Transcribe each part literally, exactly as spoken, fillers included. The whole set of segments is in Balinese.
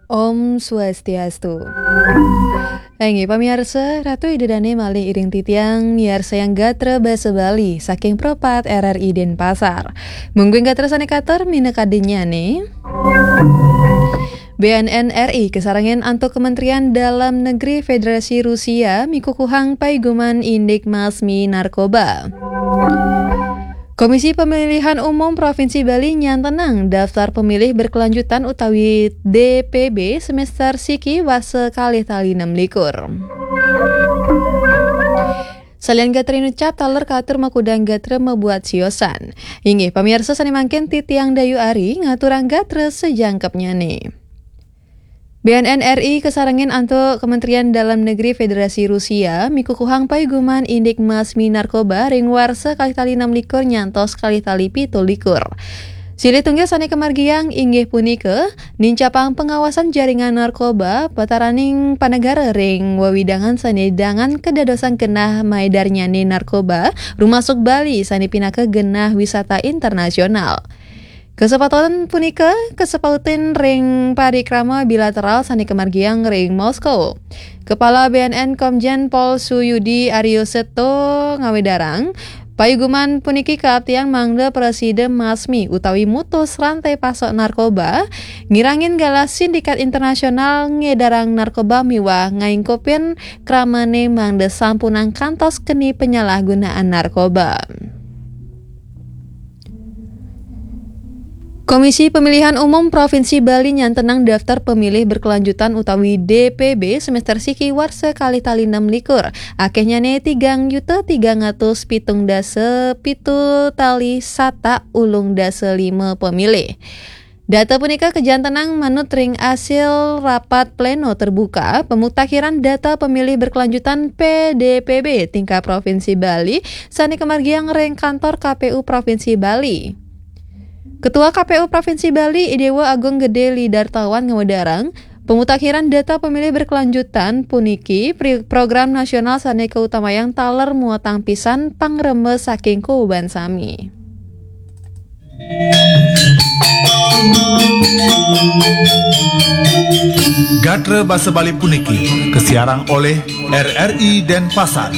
Om Swastiastu. Inggih pamiarsa, Ratu Ida Dané malih iring titiang miarsayang gatra basa Bali saking Pro empat R R I Denpasar. Mungguing gatra sané katur minakadinyané. B N N R I kasarengin antuk Kementerian Dalam Negeri Federasi Rusia mikukuhang paiguman indik masmi narkoba. Komisi Pemilihan Umum Provinsi Bali nyantenang daftar pemilih berkelanjutan utawi D P B semester siki warsa kalih tali enam likur. Salian gatra inucap taler katur makudang gatra mabuat siosan. Inggih, pamiarsa sané mangkin titiang Dayu Ari ngaturang gatra sajangkepnyané. B N N R I kasarengin antuk Kementerian Dalam Negeri Federasi Rusia mikukuhang paiguman indik masmi narkoba ring warsa kalih tali enam likur nyantos kalih tali pitu likur. Silih tunggil sané kamargiang inggih punika nincapang pengawasan jaringan narkoba pataraning panegara ring wewidangan sané dangan kadadosang genah maedarnyané narkoba, rumasuk Bali sané pinaka genah wisata internasional. Kasepautan punika kasepautin ring parikrama bilateral sané kamargiang ring Moskow. Kepala B N N Komjen Pol Suyudi Aryo Seto ngawedarang, paiguman puniki kaaptiang mangda prasida masmi utawi mutus rantai pasok narkoba, ngirangin galah sindikat internasional ngedarang narkoba miwah ngaingkupin kramané mangda sampunang kantos keni penyalahgunaan narkoba. Komisi Pemilihan Umum Provinsi Bali nyantenang daftar pemilih berkelanjutan utawi D P B semester siki warsa kalih tali enam likur. Akéhnyané tigang yuta tigang atus pitung dasa pitu tali satak ulung dasa lima pemilih. Data punika kajantenang manut ring asil rapat pleno terbuka pemutakiran data pemilih berkelanjutan P D P B tingkat Provinsi Bali sané kamargiang ring kantor K P U Provinsi Bali. Ketua K P U Provinsi Bali, I Déwa Agung Gedé Lidartawan ngawedarang, pemutakhiran data pemilih berkelanjutan puniki pri-, program nasional sané kautamayang taler muatang pisan pangremba saking kuban sami. Gatra basa Bali puniki kasiarang olih R R I Denpasar.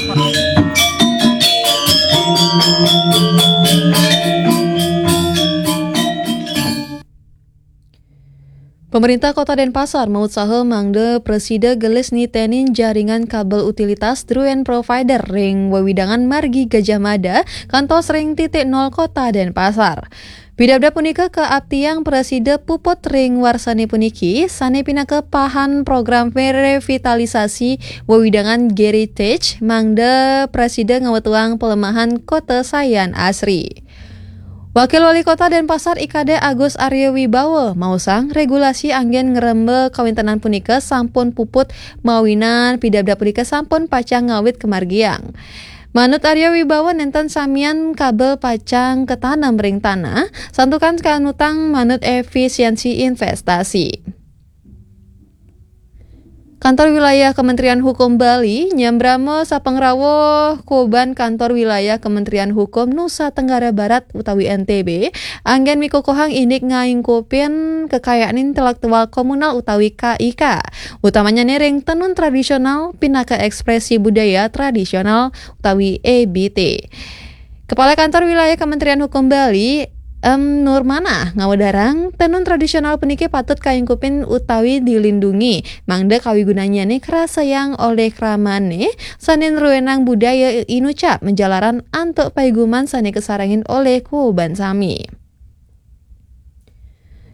Pemerintah Kota Denpasar mautsaha mangda prasida gelis nitenin jaringan kabel utilitas druén provider ring wewidangan margi Gajah Mada kantos ring titik nol Kota Denpasar. Pidabdab punika kaaptiang prasida puput ring warsané puniki, sané pinaka pahan program revitalisasi wewidangan Geritage, mangda prasida ngawetuang pelemahan Kota Sayan Asri. Wakil Wali Kota Denpasar I Kadek Agus Arya Wibawa maosang regulasi anggén ngremba kawéntenan punika sampun puput mawinan pidabdab punika sampun pacang ngawit kamargiang. Manut Arya Wibawa nénten samian kabel pacang katanem ring tanah, santukan kanutang manut efisiensi investasi. Kantor Wilayah Kementerian Hukum Bali nyambrama sapangrawuh kuban Kantor Wilayah Kementerian Hukum Nusa Tenggara Barat utawi N T B anggén mikukuhang indik ngaingkupin kekayaan intelektual komunal utawi K I K, utamanyané ring tenun tradisional pinaka ekspresi budaya tradisional utawi E B T. Kepala Kantor Wilayah Kementerian Hukum Bali, M Nurmanah, ngawedarang, tenun tradisional puniki patut kaingkupin utawi dilindungi, mangda kawigunannyané karasayang olih kramané, sané nruénang budaya inucap majalaran antuk paiguman sané kasarengin olih kuban sami.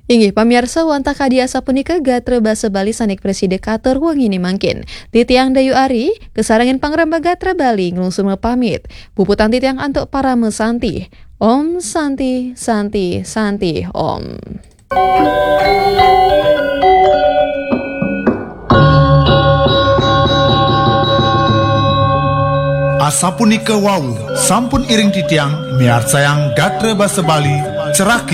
Inggih, pamiarsa, wantah kadi asapunika gatra basa Bali sané prasida katur wenginé mangkin. Titiang Dayu Ari, kasarengin pangremba gatra Bali, nglungsur mapamit. Puputang titiang antuk parama santi. Om Santi, Santi, Santi, Om. Asapunika wau, sampun iring titiang miarsayang gatra basa Bali, ceraki